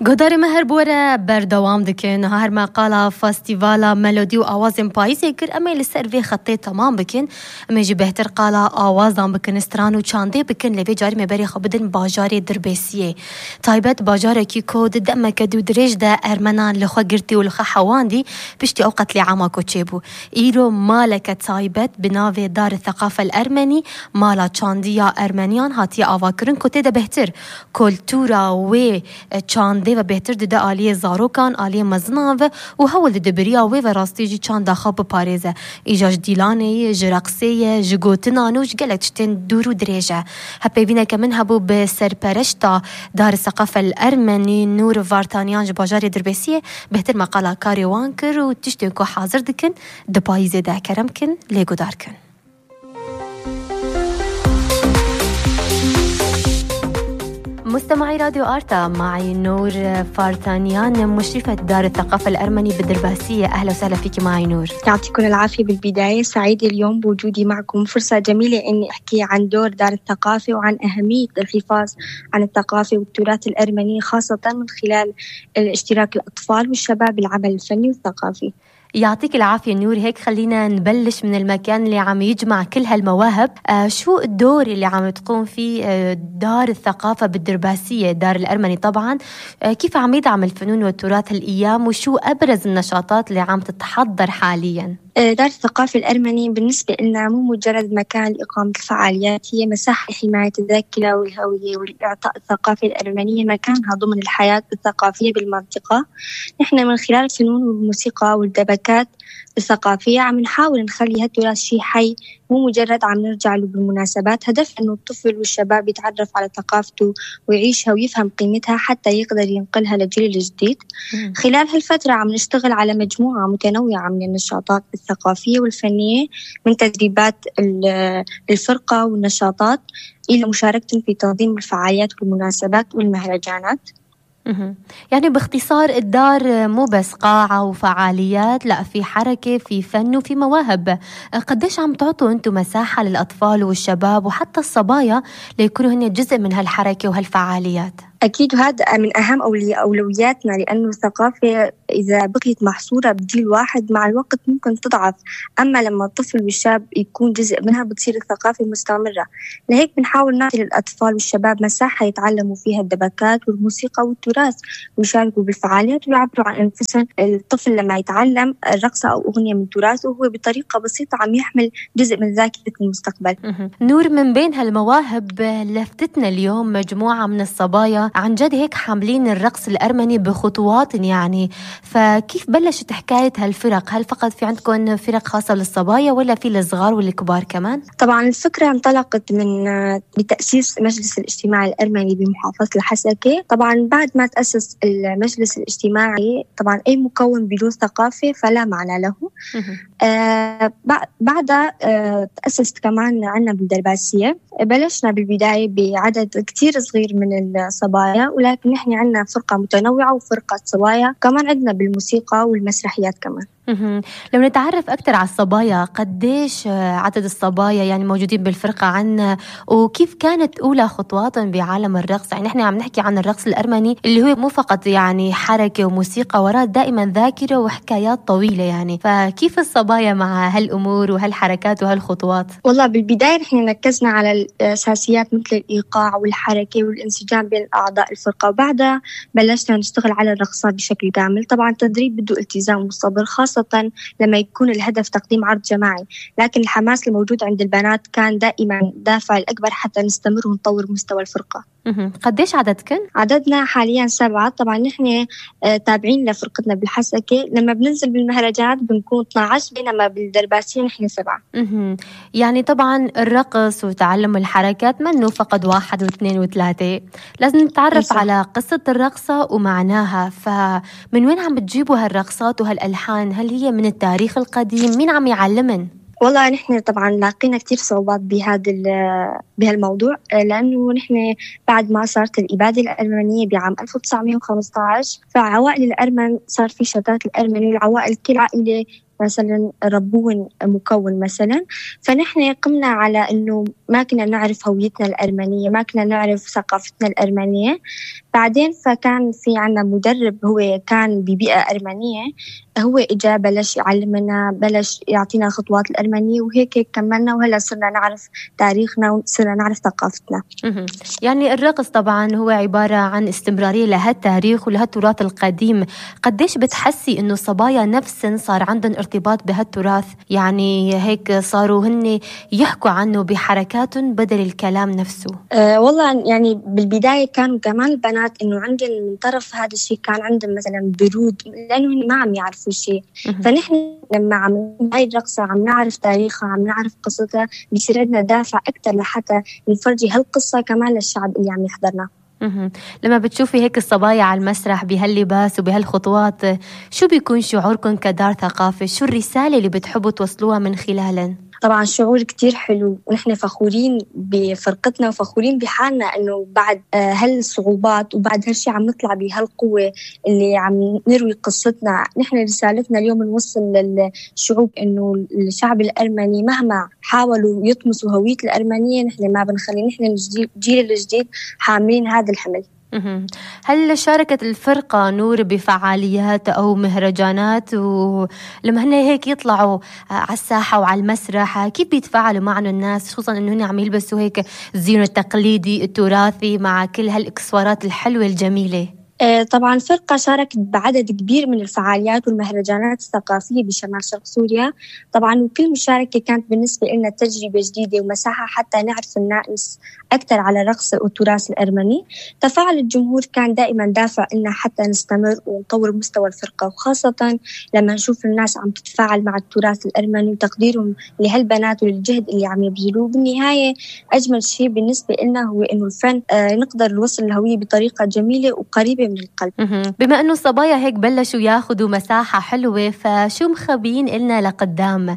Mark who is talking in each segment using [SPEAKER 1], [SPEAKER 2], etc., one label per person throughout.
[SPEAKER 1] گۆداری me her bore berdewam dikin her me qala festîvala melodî û awazên payîzê kir em ê li ser vê xetê temam bikin em ê jî bêhtir qala awazan bikin stran û çandê bikin lê vê carî me berê xwe bidin bajarê Dirbêsiyê taybet bajarekî ku di demeke dû dirêj de ermenan li xwe girtî û li xwe hewandî piştî ew qetlîama ku çêbû îro maleke taybet bi navê Dar Thaqafel Ermenî mala çandiya Ermeniyan hatiye avakirin ku tê de bêhtir kultûra wê çandê ve bêhtir dide aliyê zarokan aliyê mezinan ve û hewl dide biriya wê ve rastî jî çanda xwe biparêze îja ji dîlanê ji reqsê ji gotinan û ji gelek tiştên dûr û dirêj e hepêvîneke min hebû bi serpereşta Dar Thaqafel Ermenî Nûr Vartaniyan ji bajarê Dirbêsiyê bêhtir me qala karê wan kir û tiştên ku hazir dikin di payîzê de kerem kin lê guhdar kin. مستمعي راديو آرتا معي نور فارتانيان مشرفة دار الثقافة الأرمني بالدرباسية. أهلا وسهلا فيك معي نور.
[SPEAKER 2] يعطيكم العافية. بالبداية سعيدة اليوم بوجودي معكم، فرصة جميلة إني أحكي عن دور دار الثقافة وعن أهمية الحفاظ عن الثقافة والتراث الأرمني خاصة من خلال اشتراك الأطفال والشباب بالعمل الفني والثقافي.
[SPEAKER 1] يعطيك العافية نور. هيك خلينا نبلش من المكان اللي عم يجمع كل هالمواهب. شو الدور اللي عم تقوم فيه دار الثقافة بالدرباسية دار الأرمني طبعا؟ كيف عم يدعم الفنون والتراث هالأيام وشو أبرز النشاطات اللي عم تتحضر حاليا؟
[SPEAKER 2] دار الثقافة الأرمني بالنسبة لنا مو مجرد مكان لإقامة الفعاليات، هي مساحة لحماية الذاكرة والهوية والإعطاء الثقافة الأرمنية مكانها ضمن الحياة الثقافية بالمنطقة. نحن من خلال الفنون والموسيقى والدبكات الثقافية عم نحاول نخلي هالتراث شيء حي مو مجرد عم نرجع له بالمناسبات. هدف إنه الطفل والشباب يتعرف على ثقافته ويعيشها ويفهم قيمتها حتى يقدر ينقلها للجيل الجديد. خلال هالفترة عم نشتغل على مجموعة متنوعة من النشاطات الثقافية والفنية من تدريبات الفرقة والنشاطات إلى مشاركة في تنظيم الفعاليات والمناسبات والمهرجانات.
[SPEAKER 1] يعني باختصار الدار مو بس قاعة وفعاليات، لا في حركة في فن وفي مواهب. قديش عم تعطوا أنتم مساحة للأطفال والشباب وحتى الصبايا ليكونوا هن جزء من هالحركة وهالفعاليات؟
[SPEAKER 2] أكيد هذا من أهم أولوياتنا، لأنه الثقافة إذا بقيت محصورة بجيل واحد مع الوقت ممكن تضعف، أما لما الطفل والشاب يكون جزء منها بتصير الثقافة مستمرة. لهيك بنحاول نعطي للأطفال والشباب مساحة يتعلموا فيها الدبكات والموسيقى والتراث ويشاركوا بالفعاليات ويعبروا عن أنفسهم. الطفل لما يتعلم رقصة أو أغنية من تراثه هو بطريقة بسيطة عم يحمل جزء من ذاكرة المستقبل.
[SPEAKER 1] نور، من بين هالمواهب لفتتنا اليوم مجموعة من الصبايا عن جد هيك حاملين الرقص الأرمني بخطوات يعني، فكيف بلشت حكاية هالفرق؟ هل فقط في عندكم فرق خاصة للصبايا ولا في الصغار والكبار كمان؟
[SPEAKER 2] طبعا الفكرة انطلقت من بتأسيس مجلس الاجتماع الأرمني بمحافظة الحسكة. طبعا بعد ما تأسس المجلس الاجتماعي طبعا أي مكون بدون ثقافة فلا معنى له. بعدها تأسست كمان عنا بالدرباسية. بلشنا بالبداية بعدد كتير صغير من الصبايا، ولكن نحن عنا فرقة متنوعة وفرقة صبايا كمان عندنا بالموسيقى والمسرحيات كمان.
[SPEAKER 1] لو نتعرف أكتر على الصبايا، قديش عدد الصبايا يعني موجودين بالفرقة عنا، وكيف كانت أولى خطواتهم بعالم الرقص؟ يعني نحن عم نحكي عن الرقص الأرمني اللي هو مو فقط يعني حركة وموسيقى، وراء دائما ذاكرة وحكايات طويلة يعني، فكيف الصبايا مع هالأمور وهالحركات وهالخطوات؟
[SPEAKER 2] والله بالبداية نحن ركزنا على الأساسيات مثل الإيقاع والحركة والانسجام بين أعضاء الفرقة، وبعدها بلشنا نشتغل على الرقصات بشكل كامل. طبعا التدريب بده التزام والصبر خاصة لما يكون الهدف تقديم عرض جماعي، لكن الحماس الموجود عند البنات كان دائما دافع الأكبر حتى نستمر ونطور مستوى الفرقة.
[SPEAKER 1] قديش عددكن؟
[SPEAKER 2] عددنا حاليا 7. طبعا نحن تابعين لفرقتنا بالحسكة، لما بننزل بالمهرجانات بنكون 12، بينما بالدرباسية نحن 7.
[SPEAKER 1] يعني طبعا الرقص وتعلم الحركات منه فقط 1 و2 و3، لازم نتعرف على قصة الرقصة ومعناها. فمن وين عم بتجيبوا هالرقصات وهالألحان؟ هل هي من التاريخ القديم؟ مين عم يعلمن؟
[SPEAKER 2] والله نحن طبعا لاقينا كتير صعوبات بهالموضوع، لأنه نحن بعد ما صارت الإبادة الأرمنية بعام 1915 فعوائل الأرمن صار في شتات الأرمن، والعوائل كل عائلة مثلا ربون مكون مثلا. فنحن قمنا على إنه ما كنا نعرف هويتنا الأرمنية، ما كنا نعرف ثقافتنا الأرمنية. بعدين فكان في عنا مدرب هو كان ببيئة أرمنية، هو إجا بلش يعلمنا، بلش يعطينا خطوات الأرمنية، وهيك كملنا وهلا صرنا نعرف تاريخنا وصرنا نعرف ثقافتنا.
[SPEAKER 1] يعني الرقص طبعا هو عبارة عن استمرارية لهالتاريخ ولهالتراث القديم. قديش بتحسي إنه الصبايا نفسن صار عندهم ارتباط بهالتراث؟ يعني هيك صاروا هن يحكوا عنه بحركاتهم بدل الكلام نفسه.
[SPEAKER 2] والله يعني بالبداية كانوا كمان البنات إنه عندهم من طرف هذا الشيء، كان عندهم مثلا برود لأنه ما عم يعرفوا شيء. فنحن لما عم هاي الرقصة عم نعرف تاريخها، عم نعرف قصتها، بيصير عندنا دافع أكتر لحتى نفرجي هالقصة كمان للشعب اللي عم يحضرنا.
[SPEAKER 1] لما بتشوفي هيك الصبايا على المسرح بهاللباس وبهالخطوات، شو بيكون شعوركم كدار ثقافة؟ شو الرسالة اللي بتحبوا توصلوها من خلالن؟
[SPEAKER 2] طبعا شعور كتير حلو، ونحن فخورين بفرقتنا وفخورين بحالنا إنه بعد هالصعوبات وبعد هالشي عم نطلع بهالقوة اللي عم نروي قصتنا. نحن رسالتنا اليوم نوصل للشعوب إنه الشعب الأرمني مهما حاولوا يطمسوا هوية الأرمنية، نحن ما بنخلي، نحن الجيل الجديد حاملين هذا الحمل.
[SPEAKER 1] هل شاركت الفرقة نور بفعاليات أو مهرجانات؟ ولما هن هيك يطلعوا على الساحة وعلى المسرح كيف بيتفاعلوا معنا الناس، خصوصا إنه هن عم يلبسوا هيك الزين التقليدي التراثي مع كل هالإكسسوارات الحلوة الجميلة؟
[SPEAKER 2] طبعا الفرقة شاركت بعدد كبير من الفعاليات والمهرجانات الثقافية بشمال شرق سوريا طبعا، وكل مشاركة كانت بالنسبة لنا تجربة جديدة ومساحة حتى نعرف الناس أكثر على الرقص والتراث الأرمني. تفاعل الجمهور كان دائما دافع لنا حتى نستمر ونطور مستوى الفرقة، وخاصة لما نشوف الناس عم تتفاعل مع التراث الأرمني وتقديرهم لهالبنات وللجهد اللي عم يبذلوه. بالنهاية أجمل شيء بالنسبة لنا هو إنه الفن نقدر نوصل الهوية بطريقة جميلة وقريبة من القلب.
[SPEAKER 1] بما أنه الصبايا هيك بلشوا ياخدوا مساحة حلوة، فشو مخبيين إلنا لقدام؟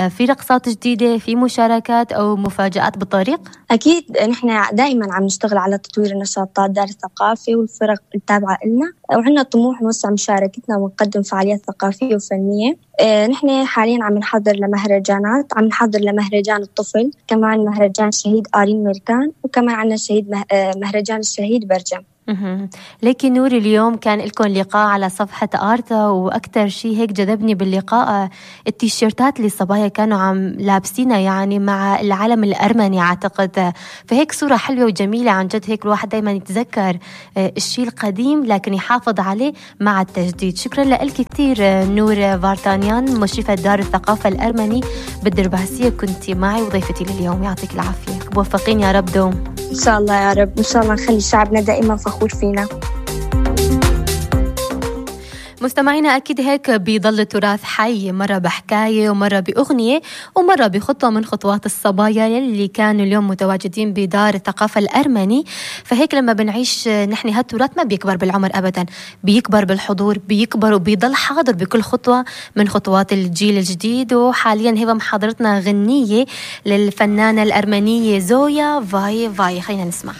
[SPEAKER 1] في رقصات جديدة، في مشاركات أو مفاجآت بالطريق؟
[SPEAKER 2] أكيد نحن دائما عم نشتغل على تطوير النشاطات دار الثقافة والفرق التابعة لنا، وعندنا طموح نوسع مشاركتنا ونقدم فعاليات ثقافية وفنية. نحن حاليا عم نحضر لمهرجانات، عم نحضر لمهرجان الطفل، كمان مهرجان الشهيد آرين ميركان، وكمان عنا مهرجان الشهيد برجم.
[SPEAKER 1] لكن نور اليوم كان لكم لقاء على صفحة آرتا، وأكتر شيء هيك جذبني باللقاء التيشيرتات اللي الصبايا كانوا عم لابسينها يعني مع العلم الأرمني أعتقد. فهيك صورة حلوة وجميلة عن جد، هيك الواحد دايما يتذكر الشيء القديم لكن يحافظ عليه مع التجديد. شكرا لك كتير نور فارتانيان، مشرفة دار الثقافة الأرمني بالدرباسية، كنت معي وضيفتي لليوم. يعطيك العافية، موفقين يا رب دوم.
[SPEAKER 2] إن شاء الله يا رب، إن شاء الله نخلي شعبنا دائما فخور فينا.
[SPEAKER 1] مستمعينا أكيد هيك بيضل التراث حي، مرة بحكاية ومرة بأغنية ومرة بخطوة من خطوات الصبايا اللي كانوا اليوم متواجدين بدار الثقافة الأرمني. فهيك لما بنعيش نحن هالتراث ما بيكبر بالعمر أبدا، بيكبر بالحضور، بيكبر وبيضل حاضر بكل خطوة من خطوات الجيل الجديد. وحاليا هبة محاضرتنا غنية للفنانة الأرمنية زويا فاي. خلينا نسمع.